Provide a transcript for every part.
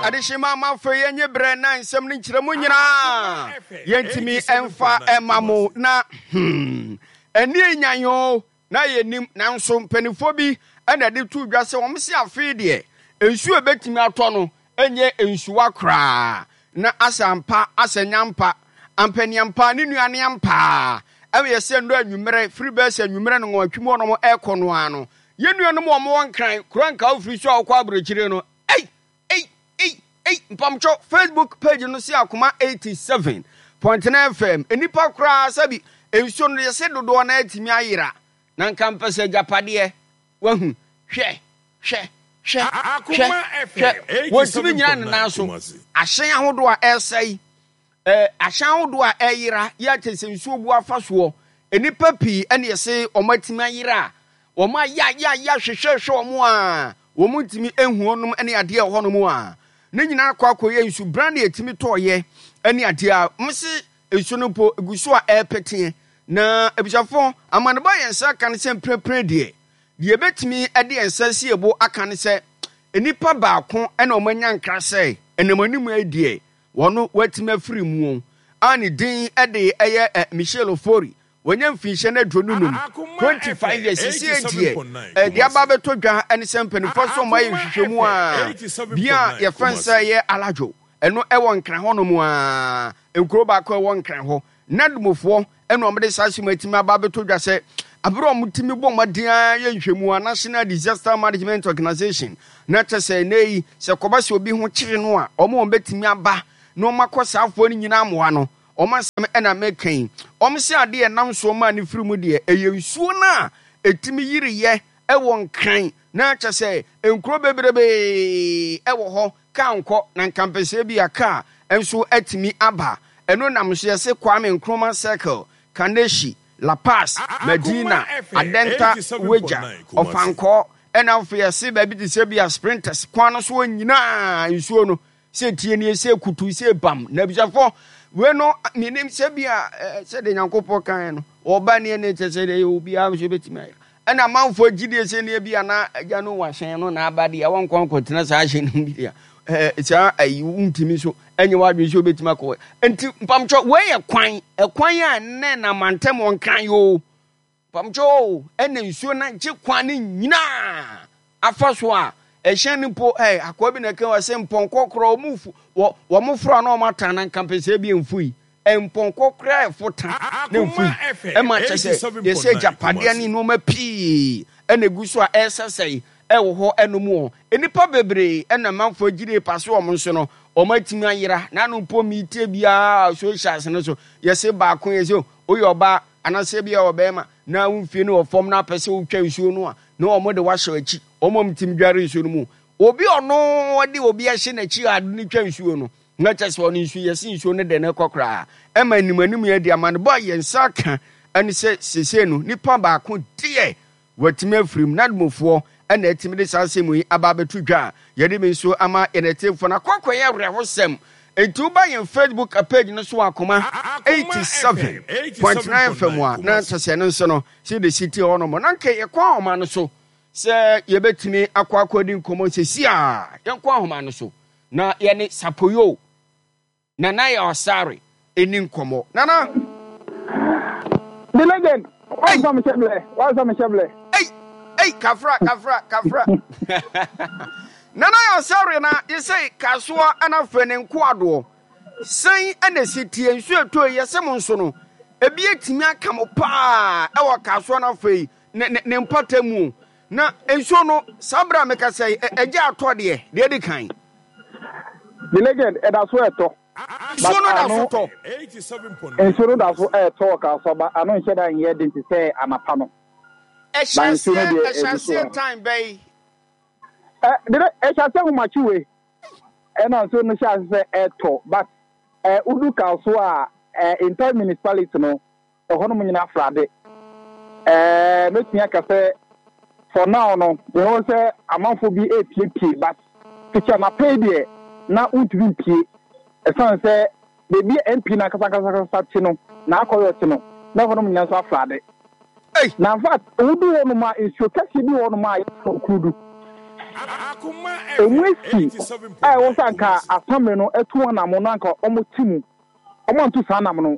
Adehyema amanfoɔ yɛnye berɛ na nsɛm no nkyerɛmu nyinaa yɛntumi mfa mma mo na hmm ɛnneɛ nyan o na yɛnim nanso mpanimfoɔ bi na ɛde to dwa sɛ wɔn se afei deɛ nsuo a ɛbɛtumi atɔ no nyɛ nsuwa koraa na asɛ ampa asɛ nyampa ampaniampa ne nua ne ampaa ɛyɛ sɛ nnɔ anwummerɛ firi bɛɛ sɛ anwummerɛ no nwɔtwe mu ɔnom ɛrekɔ no ara no Yɛn nuanom a wɔwɔ Nkran, kuro a nka wofiri so a wokɔ aburokyire no, ei, ei, ei, ei, mpamkyɛw, Facebook page no se Akoma 87.9 FM, nnipa koraa sɛbi nsuo no yɛse dodoɔ no atumi ayera, na nka mpɛ sɛ agyapadeɛ, wahu, hwɛ, hwɛ, hwɛ, hwɛ, hwɛ, wɔntumi nyina ne nan so, ahyɛn ahodoɔ a ɛresɛe, Eh, ahyɛn ahodoɔ a ɛreyera yi akyɛ sɛ nsuo bu afa soɔ. Nnipa pii ɛne ɛse wɔn atumi ayera a, wɔn ayayaya hwehwɛhwɛ wɔn a wɔn ntumi nhu wɔnom ne adeɛ ɛwɔ hɔnom a, ne nyinaa akɔ akɔyɛ nsu bran na ɛtumi tɔɔyɛ ne adeɛ a wɔn se nsuo no mpo egu so a ɛrepeteɛ. Na abusuafoɔ, amanebɔ a yɛn nsa aka ne sɛ mprempren deɛ, deɛ yɛbɛtumi de yɛn nsa asi yɛn bo aka ne sɛ nnipa baako na wɔn anya nkra sɛ ɛnam anim yi deɛ Wɔn watumi afiri mu a ne din de ɛyɛ Michelle Ofori. Wanya mfinhyia no 25, 25 years. Sisi deɛ ɛde aba abɛtɔ dwa ne sɛ mpanimfoɔ so wɔn ayɛ nhwehwɛmu a bia a yɛfrɛ no sɛ ɛyɛ Alajo ɛno ɛwɔ Nkran hɔnom a nkuro baako ɛwɔ Nkran hɔ Nadmofoɔ ɛna wɔde saa asɛm atumi aba abɛtɔ dwa sɛ abere a wɔtumi bɔ mmɔden ara yɛ nhwɛmu a National Disaster Management Organization na kyɛ sɛ ɛnɛ yi sɛ kɔba sɛ obi ho kyere no a wɔn wɔn bɛtumi aba na wɔn akɔ saa afoɔ no nyinaa mmoa no wɔn asɛm ɛna meka yi wɔn sɛ adeɛ ɛnam soɔ maa ne firi mu deɛ ɛyɛ nsuo no a ɛtumi yiriyɛ ɛwɔ Nkran na kyɛ sɛ nkuro bebrebe ɛwɔ hɔ Kaa nkɔ na nka mpɛsɛ bi a kaa nso atumi aba. Ɛno nam so yɛse Kwame Nkrumah Circle, Kaneshie, La Paz, Madina, Adenta, Weja, Ɔfankɔɔ ɛna afei yɛse baabi te sɛ bi a Sprinters kwan no soɔ nyinaa nsuo no sɛ tie nie sɛ kutu sɛ bam. Na abusuafoɔ wei no menim sɛ bi a sɛdeɛ Nyankopɔn kaeɛ no ɔba nie ne kyɛ sɛ deɛ obiara nso bɛtumi ayɛ. Ɛna amanfoɔ gyidie sɛ neɛ bi a na agya no wɔ ahyɛn no na aba deɛ wɔnkɔ nkɔtena saa ahyɛn no mu bi deɛ ɛɛ saa ayi wontumi nso ɛnyɛ w'adwene sɛ wobɛtumi akɔ nti mpamkyɛ wei yɛ kwan ɛkwan a ɛnɛ na mantam wɔn kan yoo mpamkyɛ o ɛna nsuo no gye kwan no nyinaa afa so a ɛhyɛn no mpo ɛɛ akoa bi na ɛka wɔ sɛ mpɔnkɔ korɔ wɔn fu wɔ wɔn foro a na wɔn atan na nkampɛsɛ bi mfui Mpɔnkɔ koraa ɛfo ta na mfui ɛma kyɛ sɛ yɛsɛ agyapadeɛ ne nneɛma pii ɛna egu so a ɛresɛsɛe ɛwɔ hɔ ɛnom wɔ nnipa bebree ɛna manfoɔ agyire pa so wɔn nso no wɔn atumi ayera na ano mpo metie biara socials no so yɛse baako yɛsɛ woyɛ ɔbaa anaasɛ bi a ɔbɛrima na wo mfie no wɔ fam na apɛ sɛ wotwa nsuo no a na wɔn de wahyɛ akyi wɔn a wɔtumi dware nsuo no mu obi ɔno de obi ahyɛ n'akyi a ade no twa nsuo no Na kyerɛ sɛ ɔno nso yɛse nsuo no de no kɔ koraa. Ɛma anim anim yɛ de amanebɔ a yɛn nsa aka ne sɛ seesei no nipa baako deɛ watumi afiri mu. Nadmofoɔ na atumi de saa asɛm yi aba abɛto dwa a yɛde bi nso ama yɛn atiefoɔ no. Akɔ akɔyɛ awerɛhosɛm. Enti woba yɛn Facebook page no so Akoma 87.9 FM a na kyerɛ sɛ ɛno nso no sɛ de si tie hɔ nom. Na nka yɛkɔ ahoma no so sɛ yɛbɛtumi akɔ akɔdi nkɔmmɔ sɛsi a yɛnkɔ ahoma no so. Na yɛne Sapoyo, Nana Yaw Asare ɛni nkɔmmɔ. Nana! The legend! Wansa me hyɛ blɛ, wansa me hyɛ blɛ. Ei, ei, kafra, kafra, kafra. Nana Yaw Asare na yɛsɛ kasoa ɛna afei ne nkoadoɔ. Sɛn ɛna ɛsi tie nsuo ɛtɔ yi yɛsɛ mo nso no, ebi atumi aka mo paa ɛwɔ kasoa na afei ne, ne, ne mpata mu o. Na nsuo no, saa berɛ a mekasa yi, ɛgya atɔ deɛ, deɛ adi kan. The legend, ɛda so ɛtɔ. Nsuo no da so tɔ. Nsuo no da so ɛtɔ wɔ Kasoa ba ano nhyɛ da nyɛ den te sɛ anapa no. Ɛhyɛ aseɛ, ɛhyɛ aseɛ time bɛyi. Ɛ, dede, ɛhyɛ aseɛ ahomakye wei. Ɛna nsuo no hyɛ ase sɛ ɛtɔ but ɛ, wodu Kasoa a, ɛ, entire municipality no, Ɛhɔnom nyinaa frade. Ɛɛ, mɛtumi aka sɛ for now no, yɛhɔ sɛ amanfoɔ bi repiepie but fiti anapa yi deɛ na wontumi mpie. Ɛsiane sɛ baabi a MP no ankasa ankasa ankasa te no, n'akɔyɔ te no, na ɛhɔnom nyinaa nso afrade. Ei! Na in fact, wodu hɔnom a, nsuo kɛseɛ bi wɔ hɔnom a yɛfrɛ no Okurudu. Emu asi a ɛwɔ sɛ anka asamere no atu wɔn anamon no anka wɔte mu. Wɔantu saa anam no.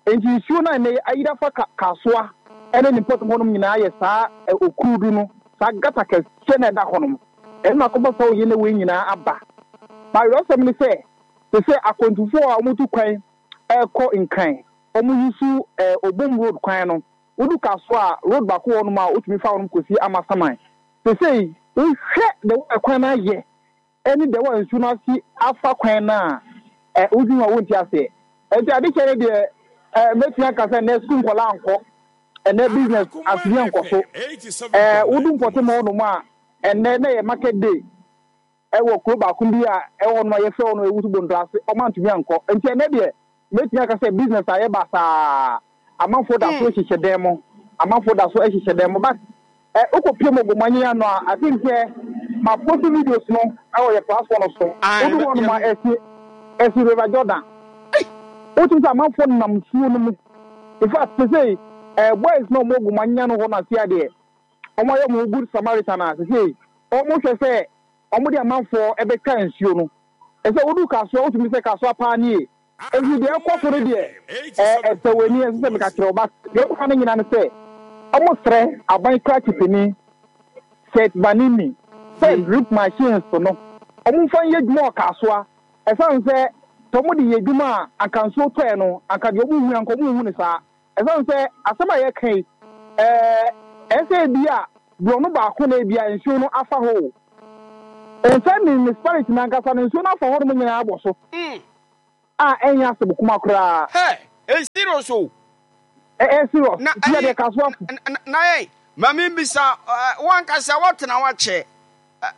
Enti nsuo no a ɛnnɛ yi ayiri afa Kasoa ne ne mpɔtam hɔnom nyinaa yɛ saa okurudu no, saa gata kɛseɛ no a ɛda hɔnom. Ɛno na akɔfa saa oye ne wei nyinaa aba. Ma awerɛhosɛm ne sɛ, te sɛ akwantufoɔ a wɔtu kwan rekɔ Nkran, wɔyi so Obom Road kwan no, wodu Kasoa a, road baako wɔ hɔnom a wotumi fa hɔnom kɔsi Amasaman. Seesei wohwɛ the way kwan no ayɛ ne the way nsuo no asi afa kwan no a, ɛ, wodwene ho a wonte aseɛ. Enti adekyɛ no deɛ, ɛ, mɛtumi aka sɛ nnɛ sukuu nkwadaa nkɔ, ɛnnɛ business asua nkɔ so. Ɛ, wodu mpɔtam hɔnom a, ɛnnɛ na ɛyɛ market day ɛwɔ kuro baako bi a ɛwɔ hɔnom a yɛfrɛ hɔ no Ewusu Bontoase, wɔantumi ankɔ. Enti ɛnnɛ deɛ, Mɛtumi aka sɛ business ayɛ basaa, amanfoɔ da so hyehyɛ dan mu, amanfoɔ da so hyehyɛ dan mu but eh, wokɔ pie mu Ogumanyi ano a, I think sɛ ma post videos no ɛwɔ yɛ platform no so, wodu hɔ nom a ɛsi ɛsi River Jordan, wotumi sɛ amanfoɔ nam nsuo no mu, in fact sesei eh, boys na ɔmo Ogumanyi ano hɔ no ase adeɛ, ɔmo ayɛ ɔmo ho good Samaritan a sesei ɔmo hwɛ sɛ ɔmo de amanfoɔ ɛbɛtwa nsuo no. Ɛsɛ wodu Kasoa wotumi sɛ Kasoa paa nie. Enti deɛ ɛkɔ so no deɛ ɛsɛ w'ani ɛnsɛ sɛ meka kyerɛ wo but deɛ ɔka no nyinaa ne sɛ ɔmo srɛ aban krakye panin Seth Banini sɛ drip machines no ɔmo nfa nyɛ adwuma wɔ Kasoa ɛsan sɛ sɛ ɔmo de yɛ adwuma a anka nsuo tɔɛ no anka deɛ ɔmo hu anka ɔmo nhu no saa. Ɛsiane sɛ asɛm a yɛreka yi, ɛyɛ sɛ ebia borɔno baako na ebia nsuo no afa hɔ o. Ɛnsɛ municipality no ankasa no, nsuo no afa hɔnom nyinaa abɔ so a ɛnyɛ asɛm kuma koraa. Hey, ɛyɛ serious o. Ɛyɛ serious. Na ɛyɛ deɛ kasoafo. Na yɛn, ma me bisa, wo ankasa woatena hɔ akyɛ.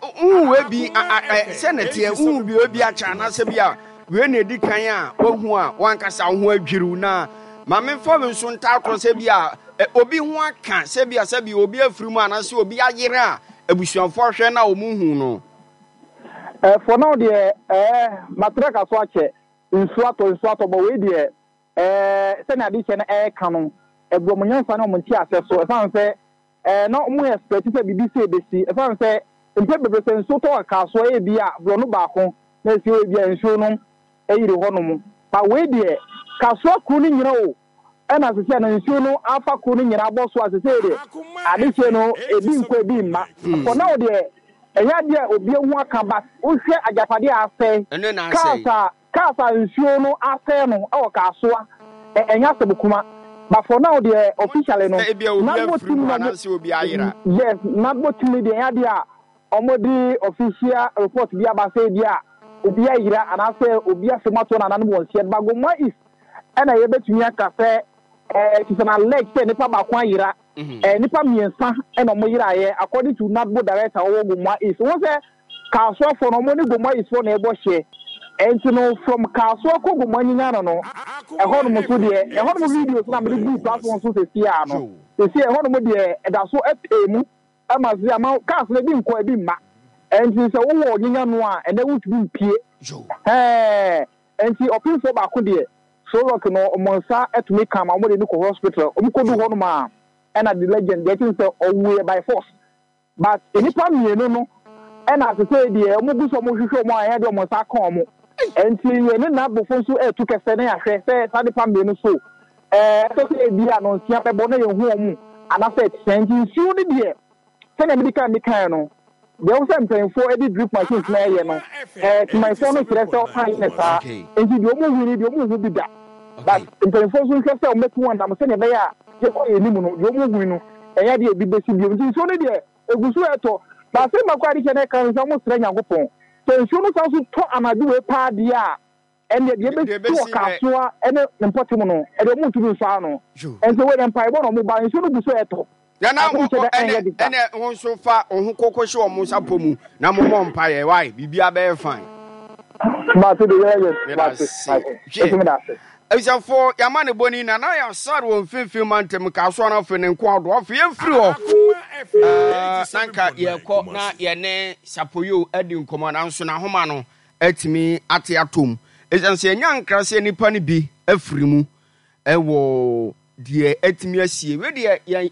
Wohu wei bi sɛ na ɛteɛ, wohu bi wei bi akyɛ anaasɛ bi a wei na ɛdi kan a woahu a wankasa wo ho adwiriw na ma memfa wo nso ntaa korɔ sɛ bi a obi ho aka sɛ bi a sɛ bi obi afiri mu anaasɛ obi ayere a abusuafoɔ ahwɛ na wɔn hu no. For now deɛ ɛɛ matra ka so akyɛ nsuo atɔ nsuo atɔ but wei deɛ ɛɛ sɛnea adehyɛ no ɛɛka no ɛgu wɔn nyansa ne wɔn nteaseɛ so ɛsan sɛ Ɛɛ, na wɔn expect sɛ biribi sei bɛsi. Ɛsiane sɛ mpɛn bebree sɛ nsuo tɔ wɔ Kasoa ebi a borɔno baako na ɛsi hɔ ebi a nsuo no ayiri hɔ nom. But wei deɛ Kasoa kuro no nyina o ɛna sesei no nsuo no afa kuro no nyina abɔ so a sesei deɛ adehyeɛ no ebi nkɔ ebi mma. For now deɛ ɛnyɛ adeɛ a obi ahu aka but wohwɛ agyapadeɛ a asɛe, Ɛno na cars asɛe. a Cars a nsuo no asɛe no wɔ Kasoa, ɛnyɛ asɛm kuma. But for now deɛ officially no, Sɛ ebia obi Nadmo afiri team mu no ɔmo, anaasɛ obi ayera. yes, Nadmo team no deɛ ɛnyɛ adeɛ a ɔmo de official report bi aba sɛ ebia obi ayera anaasɛ obi asɛm ato nananom wɔn nseɛ. But Gomoa East ɛna yɛbɛtumi aka sɛ ɛɛ it is an alleged sɛ nipa baako ayera. Ɛɛ nnipa mmiɛnsa na wɔyeraeɛ according to NADMO director a ɔwɔ Gomoa East. Wohu sɛ Kasoafoɔ no wɔn ne Gomoa East foɔ na ɛbɔ hyeɛ. Ɛnti no from Kasoa kɔ Gomoa Nyinyano no ɛhɔnom nso deɛ ɛhɔnom videos na mede guu platform so seesei ara no seesei ɛhɔnom deɛ ɛda so pɛɛ mu ma seesei ama cars no ebi nkɔ ebi mma. Ɛnti sɛ wowɔ Nyinyano a ɛnɛ wontumi mpue. Ɛhɛɛ Enti ɔpemfoɔ baako deɛ, Sorock no wɔn nsa tumi ka ma wɔde no kɔ hospital. Wɔn kɔdu hɔ nom a, ɛna the legend deɛ ɛkyɛn sɛ ɔwuiɛ by force. But nnipa mmienu no ɛna sesei deɛ wɔn gu so wɔn hwehwɛ wɔn a ɛyɛ deɛ wɔn nsa aka wɔn. Enti yɛne n'abofo nso ɛretu kɛsɛ na yɛahwɛ sɛ saa nnipa mmienu so ɛɛ ɛsɛ sɛ ebi a nonsia bɛbɔ na yɛhu wɔn anaasɛ ɛte sɛn. Nti nsuo no deɛ Sɛnea mede kan mekae no, deɛ ɛwɔ sɛ mpanyimfoɔ de drip machines no yɛ no, eh, temanfoɔ no kyerɛ sɛ wɔn anyɛ no saa. Enti deɛ wɔn hu no deɛ wɔn nhu bi da. But mpanyimfoɔ nso nhwɛ sɛ wɔbɛtu wɔn nam sɛnea ɛbɛyɛ a yɛkɔ yɛn anim no, deɛ wɔn hui no, ɛnyɛ adeɛ a ebi bɛsi bio. Nti nsuo no deɛ, egu so ɛretɔ. But asɛm baako a ade kyɛ na ɛka ne sɛ wɔsrɛ Nyankopɔn sɛ nsuo no san so tɔ anadwo wei paa deɛ a, Ɛnneɛ deɛ ɛbɛsi wɔ Kasoa ne ne mpɔtam no, ɛdeɛ wɔntumi nsɔ ano. Ɛnso wei deɛ mpaebɔ na wɔba, nsuo no gu so retɔ. Nana Asɛm wo kyɛ dɛ ɛnyɛ ɛnɛ de sa. ɛnɛ wo nso fa wo ho koko hyɛ wɔn nsa pɔ mu na mo mmɔ mpaeɛ why biribiara bɛyɛ fine. Mate de yɛ yɛ Meda mate ase. mate Hwɛ. nso meda ase. Abusuafoɔ yɛama ne bɔni Nana Yasar wɔ mfimfini mantam Kasoa no afei ne nko adoɔ afei yɛmfiri hɔ ɛɛ na nka yɛkɔ na yɛne Sapoyo adi nkɔmmɔ nanso n'ahoma no atumi ate atom. Esiane sɛ yɛanya nkra sɛ nnipa no bi afiri mu wɔ deɛ atumi asie. Wei deɛ yɛn.